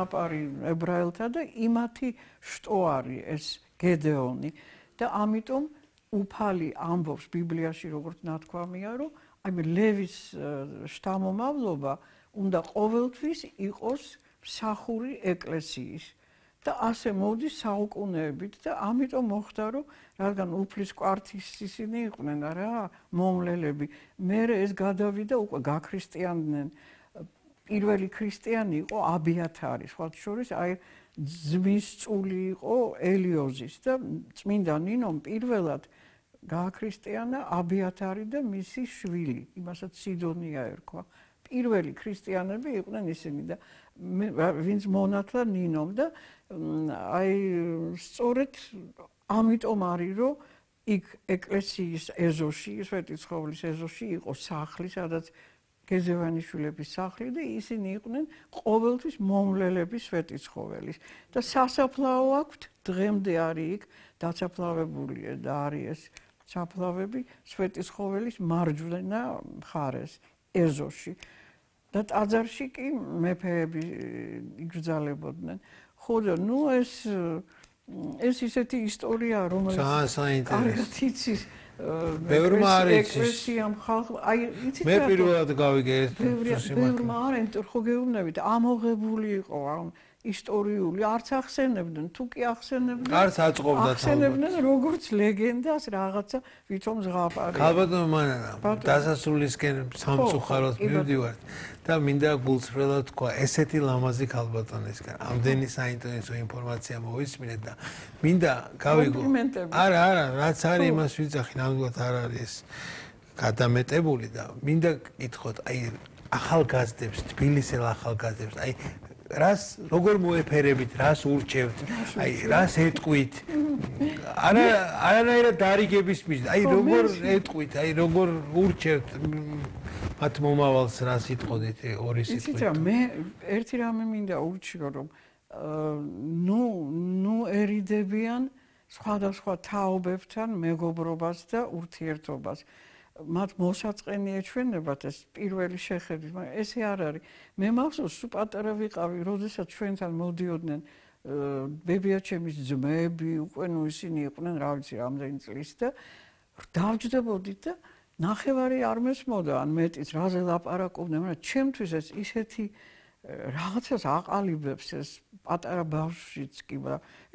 აპარი ებრაელთა და იმათი შტო არის ეს გედეონი და ამიტომ უფალი ამბობს ბიბლიაში როგორც ნათქვამია რომ აი ლევის შთამომავლობა უნდა ყოველთვის იყოს მსახური ეკლესიის და ასე მოდის საუკუნეებით და ამიტომ მოხდა რომ რადგან უფლის კვართის ისინი იყვნენ რა მომლელები მე ეს გადავიდა უკვე გაქრისტიანდნენ პირველი ქრისტიანი იყო აბიათარი სხვა შორის აი ძმის წული იყო ელიოზის და წმინდა ნინომ პირველად გააქრისტიანა აბიათარი და მისი შვილი იმასაც სიდონია ერქვა პირველი ქრისტიანები იყვნენ ისინი და ვინც მონათლა ნინომ და აი სწორედ ამიტომ არის რომ იქ ეკლესიის ეზოში სვეტიცხოვლის ეზოში იყო სახლი სადაც გეზევანიშვილების სახლი და ისინი იყვნენ ყოველთვის მომლელების სვეტიცხოვლის და სასაფლაო აქვთ დღემდე არის იქ დაცაფლავებული და არის ეს საფლავები სვეტიცხოვლის მარჯვენა მხარეს ეზოში და ტაძარში კი მეფეები იგრძალებოდნენ ხო და ნუ ეს ისეთი ისტორია რომელიც კარგად იცის ბევრმა არ იცის აი იცით მე პირველად გავიგე ეს ბევრმა არ ხო გეუბნებით ამოღებული იყო ამ ისტორიული არც ახსენებდნენ თუ კი ახსენებდნენ არც აწყობდა ახსენებდნენ როგორც ლეგენდას რაღაცა ვითომ ზღაპარი ქალბატონო მანანა დასასრულისკენ სამწუხაროდ მივდივართ და მინდა გულწრფელად თქვა ესეთი ლამაზი ქალბატონისგან ამდენი საინტერესო ინფორმაცია მოვისმინეთ და მინდა გავიგო არა რაც არის იმას ვიძახი ნამდვილად არ არის გადამეტებული და მინდა გითხოთ აი ახალგაზრდებს თბილისელ ახალგაზრდებს აი რას როგორ მოეფერებით, რას ურჩევთ, აი რას ეტყვით. არანაირად დარიგების მიზნით, აი როგორ ეტყვით, აი როგორ ურჩევთ მათ მომავალს რას იტყოდით ორი სიტყვით. იცით რა მე ერთი რამე მინდა ურჩიო რომ ნუ ერიდებიან სხვადასხვა თაობებთან მეგობრობას და ურთიერთობას. მათ მოსაწყენი ეჩვენებათ ეს პირველი შეხედვით, მაგრამ ესე არ არის. მე მახსოვს, სულ პატარა ვიყავი, როდესაც ჩვენთან მოდიოდნენ ბებიაჩემის ძმები, უკვე ნუ ისინი იყვნენ, რა ვიცი, რამდენი წლის და დავჯდებოდით და ნახევარი არ მესმოდა, ან მეტიც, რაზე ლაპარაკობდნენ, მაგრამ ჩემთვის ეს ისეთი რაღაცას აყალიბებს ეს პატარა ბავშვიც კი,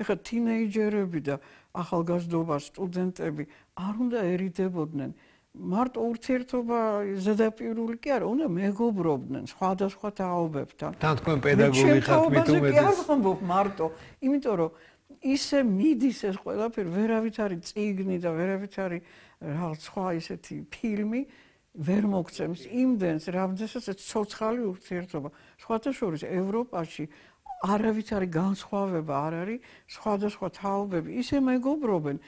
ეხლა თინეიჯერები და ახალგაზრდობა, სტუდენტები არ უნდა ერიდებოდნენ. მარტო ურთიერთობა ზედაპირული კი არა, უნდა მეგობრობდნენ სხვადასხვა თაობებთან. თან თქვენ პედაგოგი ხართ მით უმეტეს. კი არ ვამბობ მარტო, იმიტომ რომ ისე მიდის ეს ყველაფერი, ვერავით არის წიგნი და ვერავით არის რაღაც სხვა ისეთი ფილმი, ვერ მოგცემს იმდენს, რამდენსაც ცოცხალი ურთიერთობა. სხვათა შორის ევროპაში არავით არის განსხვავება არ არის სხვადასხვა თაობები ისე მეგობრობენ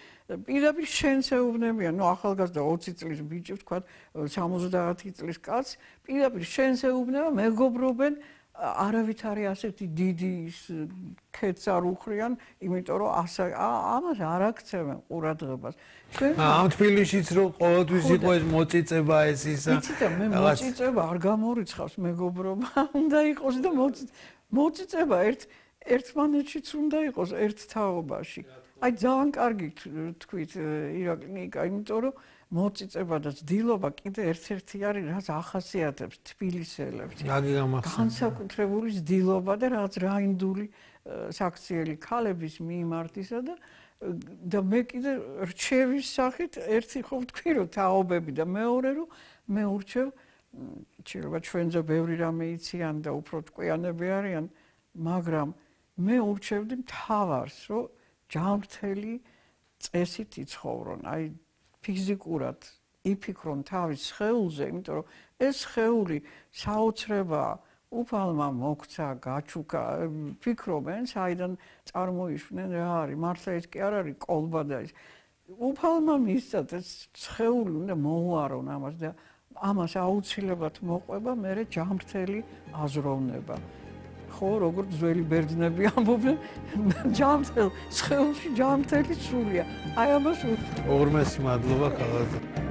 პირდაპირ შენს ეუბნებიან ნუ ახალგაზრდა 20 წლის ბიჭი ვთქვათ 70 წლის კაცს პირდაპირ შენს ეუბნება მეგობრობენ არავით არის ასეთი დიდი ქეთს არ უხრიან იმიტომ რომ ამას არ აქცევენ ყურადღებას ამ თბილისშიც რომ ყოველთვის იყო ეს მოწიწება ეს ისა იცით მე მოწიწება არ გამორიცხავს მეგობრობა უნდა იყოს და მოწიწება ერთმანეთშიც უნდა იყოს ერთ თაობაში. აი ძალიან კარგი თქვით ირაკლინიკა, იმიტომ რომ მოწიწება და ძდილობა კიდე ერთ-ერთი არის, რაც ახასიათებს თბილისელებს. განსაკუთრებული ძდილობა და რაც რაინდული საქციელი ქალების მიმართისა და მე კიდე რჩევის სახით ერთი ხო ვთქვი რომ თაობები და მეორე რომ მე ურჩევ შეიძლება ჩვენზე ბევრი რამე იციან და უფრო ტყვიანები არიან, მაგრამ მე ურჩევდი მთავარს, რომ ჯანმრთელი წესით იცხოვრონ, აი ფიზიკურად იფიქრონ თავის სხეულზე, იმიტომ რომ ეს სხეული საოცრებაა, უფალმა მოქცა, გაჩუქა, ფიქრობენ, საიდან წარმოიშვნენ რა არის, მართლა ეს კი არ არის კოლბა და ის. უფალმა მისცათ ეს სხეული უნდა მოუარონ ამას და ამას აუცილებლად მოყვება მერე ჯანმრთელი აზროვნება. ხო, როგორც ძველი ბერძნები ამბობენ, ჯანმრთელ სხეულში ჯანმრთელი სულია. აი ამას ორმესი მადლობა ქალბატონო.